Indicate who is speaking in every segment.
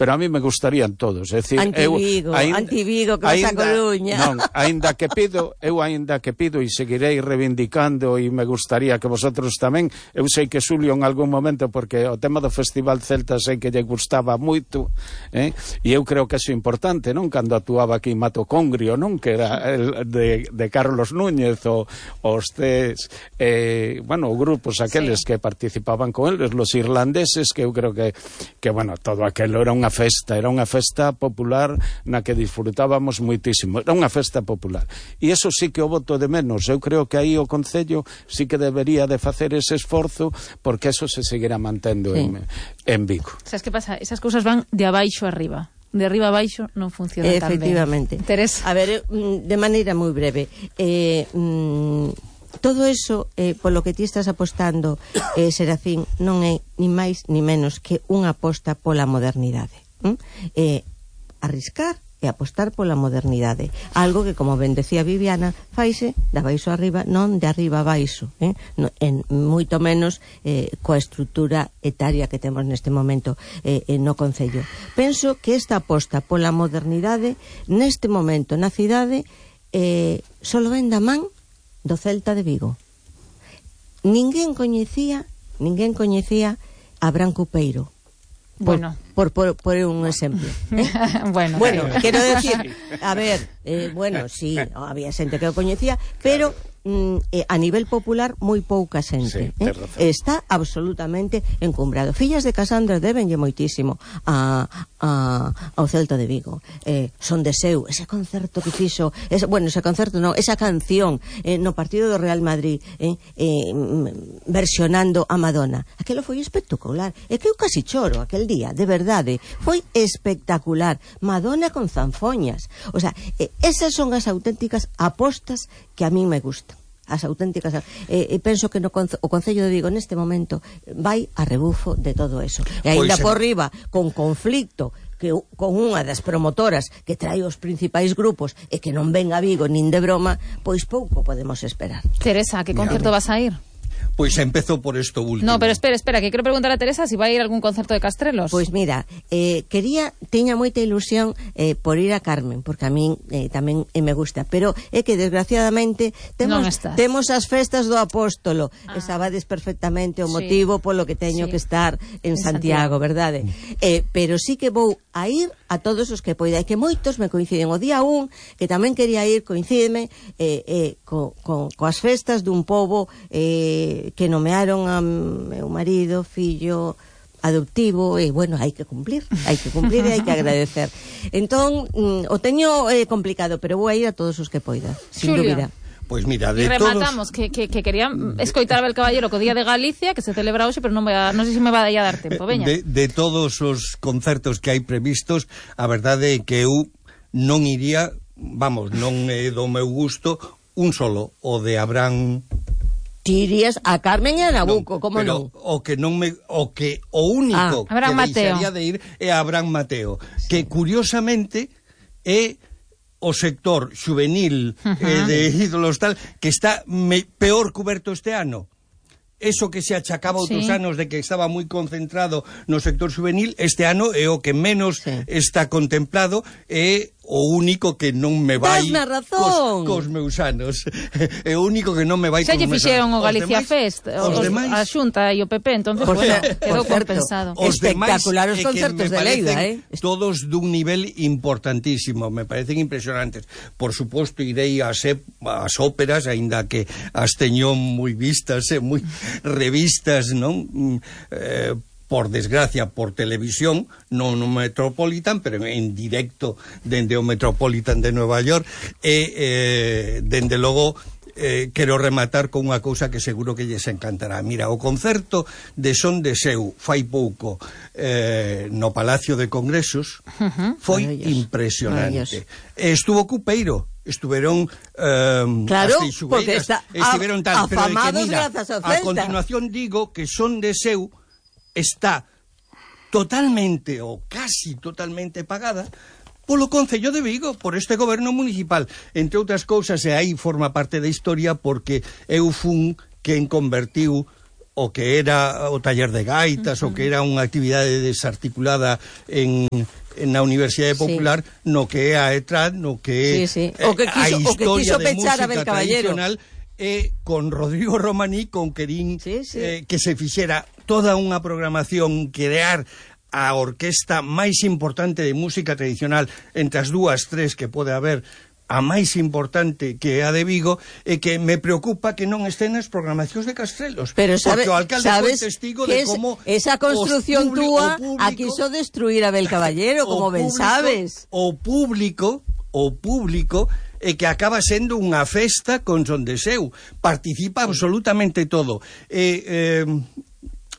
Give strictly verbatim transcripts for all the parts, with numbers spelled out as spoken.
Speaker 1: pero a mí me gustarían todos. É dicir,
Speaker 2: Antivigo,
Speaker 1: eu,
Speaker 2: Antivigo, que vas a Coruña.
Speaker 1: Non, aínda que pido, eu aínda que pido e seguirei reivindicando, e me gustaría que vosotros tamén, eu sei que Xulio en algún momento, porque o tema do Festival Celta sei que lle gustaba moito, eh? E eu creo que é importante, non? Cando actuaba aquí Mato Congrio, non? Que era el de, de Carlos Núñez, o os tes, eh, bueno, grupos aqueles sí. que participaban con eles, los irlandeses, que eu creo que, que bueno, todo aquilo era unha festa, era unha festa popular na que disfrutábamos moitísimo, era unha festa popular, e eso sí que o voto de menos. Eu creo que aí o Concello sí que debería de facer ese esforzo, porque eso se seguirá mantendo sí. en, en Vigo.
Speaker 3: Sabes que pasa? Esas cousas van de abaixo arriba, de arriba abaixo non funciona tan ben.
Speaker 2: Efectivamente.
Speaker 3: Teresa.
Speaker 2: A ver, de maneira moi breve, eh, mm, todo eso, eh, polo que ti estás apostando, eh, Serafín, non é ni máis ni menos que unha aposta pola modernidade. ¿Mm? Eh, arriscar e apostar pola modernidade. Algo que, como ben decía Viviana, faise de abaixo arriba, non de arriba abaixo. Eh? No, en moito menos eh, coa estrutura etaria que temos neste momento eh, no Concello. Penso que esta aposta pola modernidade neste momento na cidade eh, solo ven da man do Celta de Vigo. Ninguén coñecía, ninguén coñecía a Branco Peiro. Por,
Speaker 3: bueno,
Speaker 2: por, por, por un exemplo. ¿Eh?
Speaker 3: bueno,
Speaker 2: bueno, quero decir, a ver, eh, bueno, sí, había xente que o coñecía, pero mm, eh, a nivel popular moi pouca xente.
Speaker 1: Sí,
Speaker 2: eh? Está absolutamente encumbrado. Fillas de Casandra debenlle moitísimo a, a, ao Celta de Vigo. Eh, son de seu, ese concerto que fixo, ese, bueno, ese concerto non, esa canción eh, no partido do Real Madrid, eh, eh, versionando a Madonna. Aquelo foi espectacular. É que eu casi choro aquel día, de verdade. Foi espectacular. Madonna con zanfoñas. O sea, eh, esas son as auténticas apostas que a mí me gustan. As auténticas, eh, penso que no conce, o Concello de Vigo neste momento vai a rebufo de todo eso. E ainda por riba, con conflicto que con unha das promotoras que trae os principais grupos e que non ven a Vigo nin de broma, pois pouco podemos esperar.
Speaker 3: Teresa, a que concerto vas a ir?
Speaker 4: Pois empezo por esto último.
Speaker 3: No, pero espera, espera, que quero preguntar a Teresa si vai a ir a algún concerto de Castrelos.
Speaker 2: Pois mira, eh, quería, teña moita ilusión eh, por ir a Carmen, porque a min eh, tamén eh, me gusta, pero é que desgraciadamente temos, temos as festas do Apóstolo, ah. e sabades perfectamente o motivo sí. polo que teño sí. que estar en, en Santiago, Santiago, verdade? Eh, pero sí que vou a ir a todos os que poida, e que moitos me coinciden. O día un, que tamén quería ir, coincídeme eh, eh, co, co, coas festas dun pobo eh, que nomearon a meu marido, fillo adoptivo, e bueno, hai que cumplir, hai que cumplir e hai que agradecer. Entón, mm, o teño eh, complicado, pero vou a ir a todos os que poida, sin
Speaker 3: Xulio.
Speaker 2: dúbida.
Speaker 4: Pois mira, de
Speaker 3: e rematamos,
Speaker 4: todos...
Speaker 3: que, que, que quería escoitar a Abel Caballero co Día de Galicia, que se celebra hoxe, pero non, vai a, non sei se me vai a dar tempo, veña.
Speaker 4: De, de todos os concertos que hai previstos, a verdade é que eu non iría, vamos, non é do meu gusto, un solo, o de Abraham...
Speaker 2: Ti irías a Carmen e a Nabucco, no, como non?
Speaker 4: O que non me, o que o único
Speaker 3: ah, que
Speaker 4: deixaría de ir é Abraham Mateo, sí. que curiosamente é o sector juvenil uh -huh. eh, de ídolos tal, que está me, peor cuberto este ano. Eso que se achacaba outros sí. anos de que estaba moi concentrado no sector juvenil, este ano é o que menos sí. está contemplado, é o único que non me vai cos, cos meus anos. É o único que non me vai
Speaker 3: cos meus anos. Xa lle fixeron o Galicia
Speaker 4: demais,
Speaker 3: Fest, os, os a Xunta e o P P, entonces, bueno, quedou compensado.
Speaker 2: Os espectacular os concertos de Leida, eh?
Speaker 4: Todos dun nivel importantísimo, me parecen impresionantes. Por suposto, irei ás, ás óperas, aínda que as teño moi vistas, eh, moi revistas, non? Eh, por desgracia, por televisión, non no Metropolitan, pero en directo dende o Metropolitan de Nueva York, e, eh, dende logo, eh, quero rematar con unha cousa que seguro que lles encantará. Mira, o concerto de Son de Seu, fai pouco, eh, no Palacio de Congresos, uh-huh. foi impresionante. Estuvo Cupeiro, estuveron eh,
Speaker 2: claro,
Speaker 4: as Teixugueiras, estiveron tal, pero de que mira, a continuación digo que Son de Seu está totalmente ou casi totalmente pagada polo Concello de Vigo, por este goberno municipal, entre outras cousas, e aí forma parte da historia porque eu fun quen convertiu o que era o taller de gaitas, uh-huh. o que era unha actividade desarticulada en... na Universidade Popular, sí. no que é a ETRAD, no que é
Speaker 2: sí, sí. O que quiso,
Speaker 4: a historia
Speaker 2: o que quiso
Speaker 4: de música
Speaker 2: Abel Caballero.
Speaker 4: Tradicional, e con Rodrigo Romaní, con Querín,
Speaker 2: sí, sí.
Speaker 4: Eh, que se fixera toda unha programación, crear a orquesta máis importante de música tradicional entre as dúas, tres que pode haber, a máis importante que a de Vigo, e que me preocupa que non estén nas programacións de Castrelos.
Speaker 2: Pero sabe,
Speaker 4: porque o alcalde foi testigo de
Speaker 2: es,
Speaker 4: como
Speaker 2: esa construcción túa a quiso destruir a Abel Caballero, como ben sabes.
Speaker 4: O público, o público e que acaba sendo unha festa con son de seu. Participa absolutamente todo. E, eh,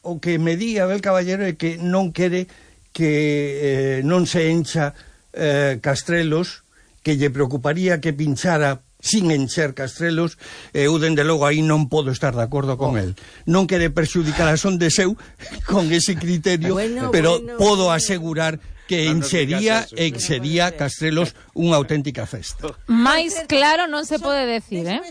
Speaker 4: o que me di Abel Caballero é que non quere que eh, non se encha eh, Castrelos, que lle preocuparía que pinchara sin encher Castrelos, e eu, dende logo, aí non podo estar de acordo con oh. el. Non quere perxudicar a son de seu con ese criterio, bueno, pero bueno, podo bueno. asegurar que no enchería e que sería Castrelos unha auténtica festa.
Speaker 3: Mais claro non se pode decir, eh?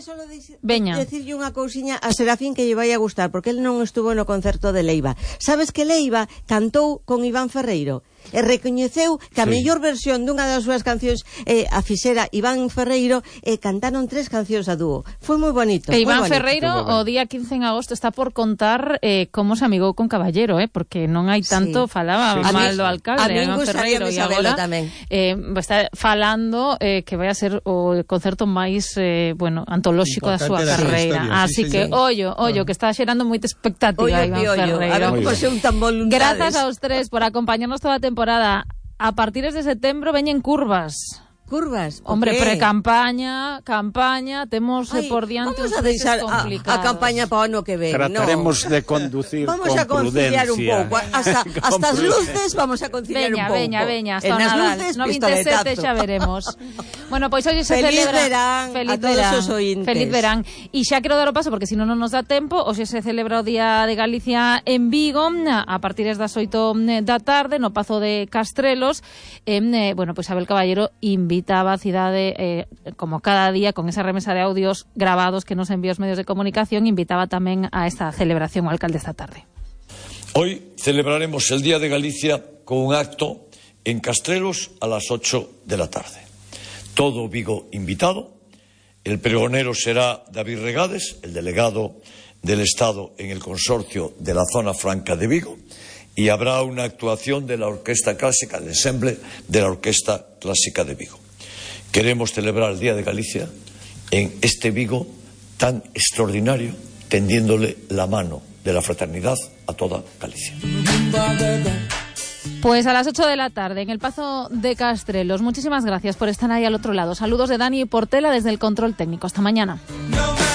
Speaker 3: Veña.
Speaker 2: Decirlle unha cousiña a Serafín que lle vai a gustar, porque el non estuvo no concerto de Leiva. Sabes que Leiva cantou con Iván Ferreiro? E recoñeceu que a sí. mellor versión dunha das súas cancións eh, a fixera Iván Ferreiro, e eh, cantaron tres cancións a dúo. Foi moi bonito.
Speaker 3: E Iván
Speaker 2: bonito.
Speaker 3: Ferreiro o día quince en agosto está por contar eh, como se amigou con Caballero, eh, porque non hai tanto, sí. falaba sí. mal do alcalde.
Speaker 2: A mí
Speaker 3: Iván Ferreiro, e agora
Speaker 2: tamén.
Speaker 3: Eh, está falando eh, que vai a ser o concerto máis eh, bueno, antolóxico da súa carreira. Historia, Así sí, que, sí. ollo, ollo, que está xerando moita expectativa ollo, Iván ollo. Ferreiro.
Speaker 2: A ver como son tan voluntades.
Speaker 3: Grazas aos tres por acompañarnos toda a temporada. A partir de setembro veñen curvas.
Speaker 2: Curvas?
Speaker 3: Hombre, pre-campaña, campaña, temos Ay, por diante
Speaker 2: vamos a deixar a, a campaña para o ano que ven.
Speaker 1: Trataremos
Speaker 2: no.
Speaker 1: de conducir
Speaker 2: vamos
Speaker 1: con
Speaker 2: a conciliar
Speaker 1: prudencia.
Speaker 2: un pouco. Hasta, hasta as luces vamos a conciliar
Speaker 3: veña,
Speaker 2: un pouco.
Speaker 3: Veña, veña, hasta
Speaker 2: en
Speaker 3: o Nadal.
Speaker 2: Luces,
Speaker 3: No vinte e sete xa veremos. Bueno, pois pues, hoxe se
Speaker 2: Feliz
Speaker 3: celebra...
Speaker 2: verán
Speaker 3: Feliz
Speaker 2: a todos
Speaker 3: verán.
Speaker 2: os ointes.
Speaker 3: Feliz verán. E xa quero dar o paso, porque senón non nos dá tempo. Hoxe se celebra o Día de Galicia en Vigo, a partir das oito da tarde, no Pazo de Castrelos. Eh, bueno, pois pues Abel Caballero invitaba a cidade, eh, como cada día, con esa remesa de audios grabados que nos envía os medios de comunicación, invitaba tamén a esta celebración o alcalde esta tarde.
Speaker 5: Hoy celebraremos el Día de Galicia con un acto en Castrelos a las ocho de la tarde. Todo Vigo invitado. El pregonero será David Regades, el delegado del Estado en el consorcio de la Zona Franca de Vigo, y habrá una actuación de la Orquesta Clásica, el ensemble de la Orquesta Clásica de Vigo. Queremos celebrar el Día de Galicia en este Vigo tan extraordinario, tendiéndole la mano de la fraternidad a toda Galicia.
Speaker 3: Pues a las ocho de la tarde en el Pazo de Castrelos. Muchísimas gracias por estar ahí al otro lado. Saludos de Dani Portela desde el control técnico. Hasta mañana.